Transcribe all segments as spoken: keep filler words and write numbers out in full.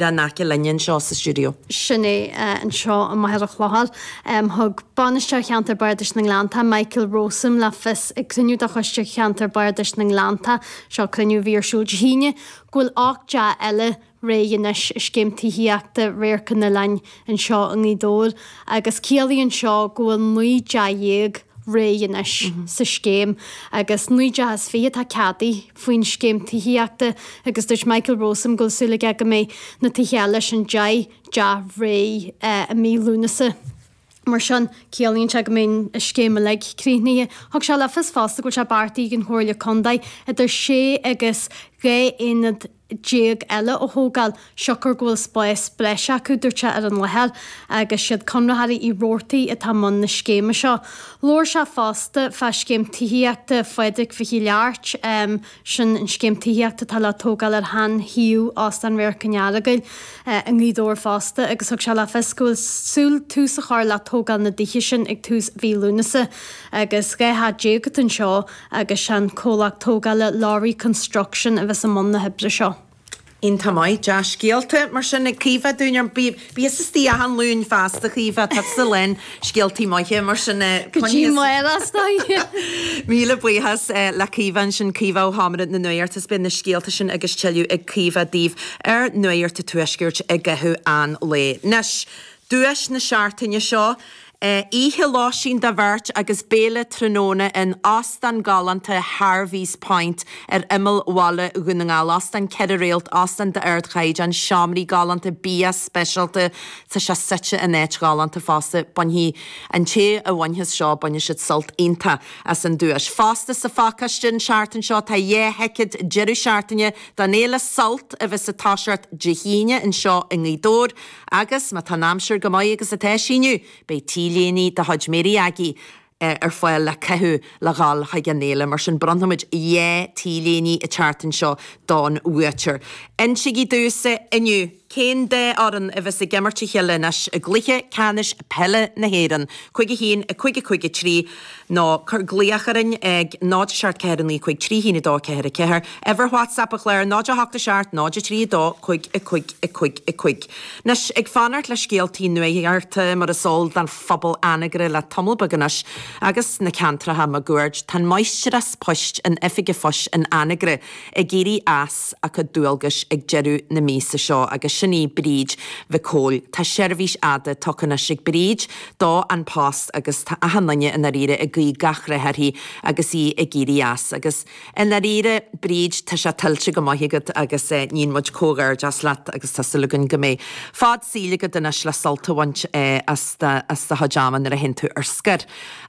in aice linne anseo sa stiúideo. Sin é anseo i Machaire Chlochair. Thug Bainisteoir Cheantar Bardais na nGleannta, Michael Rowsome le fios ag cruinniú de Choiste Cheantar Bardais na nGleannta, seo cruinniú a bhí ar siúl Dé hAoine, go bhfuil ocht dteach eile réidh anois i scéim tithíochta Radharc an Oileáin anseo i nGaoth Dobhair agus ciallaíonn seo go bhfuil naoi dteach dhéag réidh anois sa scéim agus naoi dteach is fiche atá ceadaithe faoin scéim tithíochta agus dúirt Michael Rowsome go bhfuil súil aige go mbeidh na tithe eile sin deich dteach réidh i mí Lúnasa. Mar sin, ciallaíonn sé go mbeidh an scéim uilig críochnaithe. Thug sé le fios fosta go bhfuil sé beartaithe ag an Chomhairle Contae idir sé agus dhá aonad déag eile a thógáil, siocair go bhfuil spás breise acu, dúirt sé, ar an láthair agus siad conraitheoirí Uí Robhartaigh atá i mbun na scéime seo. Labhair sé fosta fá scéim tithíochta Phádraig Mhichíl Airt, sin an scéim tithíochta atá le tógáil ar shean-shuíomh Óstán Radharc an Earagail i nGaoth Dobhair fosta agus thug sé le fios go bhfuil súil tús a chur le tógáil na dtithe sin ag tús mhí Lúnasa agus dhá theach déag atá anseo agus sé an comhlacht tógála Lowry Construction a bheas i mbun na hoibre seo. Iontach maith, dea-scéalta mar sin ag Caoimhe dúinn. Bí tusa istigh achan Luan feasta, Caoimhe, tá tusa lán scéaltaí maithe mar sin. Go dtí amárach, is dóigh. Míle buíochas le Caoimhe ansin, Caoimhe ó Sheomra na Nuachta is beidh na scéalta sin agus tuilleadh ag Caoimhe daoibh ar Nuacht an Tuaiscirt i gcaitheamh an lae. Anois, duais na seachtaine seo, Oíche lóistín do bheirt agus béile tráthnóna in óstán galánta Harvey's Point ar imeall bhaile Dhún na nGall. Óstán ceithre réalt, óstán d'ardchaighdeán, seomraí galánta, bia speisialta. Tá sé suite in áit ghalánta fosta. Bainfidh an té a bhainfeas seo, bainfidh siad sult iontach as an duais. Fosta sa phacáiste an tseachtain seo tá dhá thicéad deireadh seachtaine don fhéile Sult a bheas ag toiseacht Dé hAoine anseo i nGaoth Dobhair agus má tá an aimsir go maith agus atá sí inniu, beidh T-léine de chuid Mary Aggie ar fáil le caitheamh le dhul chuig an fhéile. Mar sin bronnfaimid dhá T-léine an tseachtain seo don bhuaiteoir. Insígí domhsa inniu cén dá fhoireann a bheas ag imirt a chéile anois i gcluiche ceannais peile na hÉireann, cúig a haon, a cúig a cúig a trí, nó cuir glaoch orainn ag náid a seacht ceathair a naoi cúig trí haon a dó ceathair a ceathair, uimhir WhatsApp an chláir náid a hocht a seacht náid a trí a dó cúig a cúig a cúig a cúig. Anois, ag fanacht le scéaltaí nuachta mar is eol don phobal Anagaire le tamall beag anois agus na ceantracha máguaird, tá an máistreás poist in Oifig an Phoist in Anagaire ag éirí as a cuid dualgais ag deireadh na míosa seo agus sin í Bríd Mhic Cóil. Tá seirbhís fhada tugtha anois ag Bríd do An Post agus tá achan duine i ndáiríre ag guí gach rath uirthi agus í ag éirí as. Agus i ndáiríre, Bríd, tá sé tuillte go maith agat agus níonn muid comhghairdeas leat agus tá súil againn go mbeidh fad saoil agat anois le sult a bhaint as do chuid ama nuair a théann tú ar scor.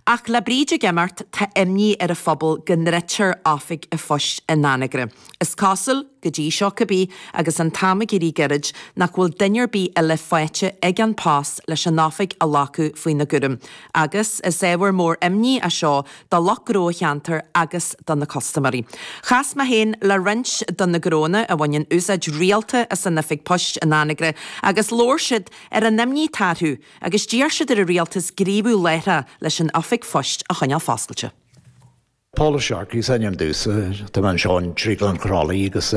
Ach le Bríd ag imeacht, tá imní ar an phobal go ndruidtear Oifig an Phoist in Anagaire. Is cosúil, go dtí seo cibé, agus an t-am ag éirí gairid, nach bhfuil duine ar bith eile faighte ag An Post leis an oifig a ghlacadh faoina gcúram. Agus is ábhar mór imní é seo do lucht gnó an cheantair agus do na custaiméirí. Chas mé féin le roinnt de na gnónna a bhaineann úsáid rialta as an oifig poist in Anagaire agus labhair siad ar an imní atá orthu agus d'iarr siad ar an rialtas gníomhú láithreach leis an oifig phoist a choinneáil foscailte. Paul Sharkey is ainm domhsa, tá mé anseo in Drioglann Chroithlí agus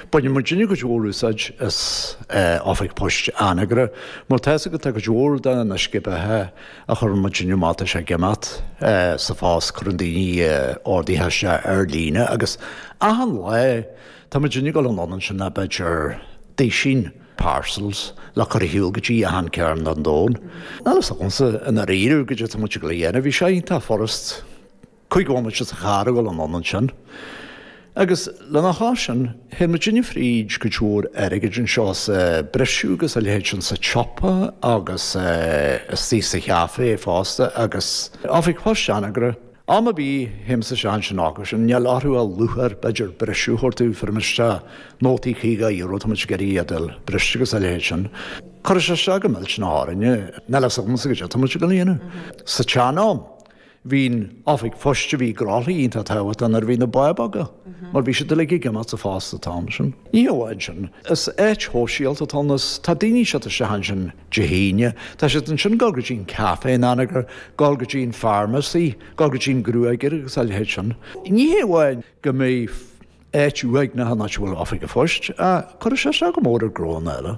baineann muidinne cuid mhór úsáid as Oifig Poist Anagaire mar tá fhios agat tá cuid mhór de na uisce beatha a chuireann muidinne amach tá sé ag imeacht sa phost, cuireann daoine orduithe isteach ar líne agus achan lá tá muidinne ag dul anonn ansin le b'fhéidir duisín parcels le cur ar shiúl go dtí achan cearn den domhan. Níl fhios agamsa i ndáiríre goidé tá muid ag dul a dhéanamh, bhí sé iontach furast. Cúig bhomaite sa charr ag dul anonn ansin. Agus lena chois sin, théann muidinne fríd cuid mhór airgid anseo sa briseadh agus a leithéid sin sa tsiopa agus istigh sa chaife fosta agus Oifig Poist Anagaire. Am ar bith, théimse isteach ansin acu sin, níl orthu ach lúcháir, b'fhéidir, briseadh a thabhairt domh, fuair muid isteach nótaí caoga euro, tá muid ag iarraidh iad a fháil briste agus a leithéid sin. Cuirfidh sé isteach go millteanach orainne, níl fhios agamsa goidé tá muid ag dul a dhéanamh. Sa tsean-am. Bhí an oifig phoist a bhí i gCroithlí iontach tábhachtach nuair a bhí na ba beaga, mar bhí siad uilig ag imeacht sa phost an t-am sin. Ní hamháin sin, is áit shóisialta atá ann, is tá daoine ag teacht isteach ansin Dé hAoine, tá siad ansin ag dul go dtí an café in Anagaire, dul go dtí an pharmacy, dul go dtí an gruagaire agus a leithéid sin. Ní hé amháin go mbeidh áit uaigneach an áit a bhfuil oifig an phoist, ach cuirfidh sé isteach go mór ar ghnónna eile.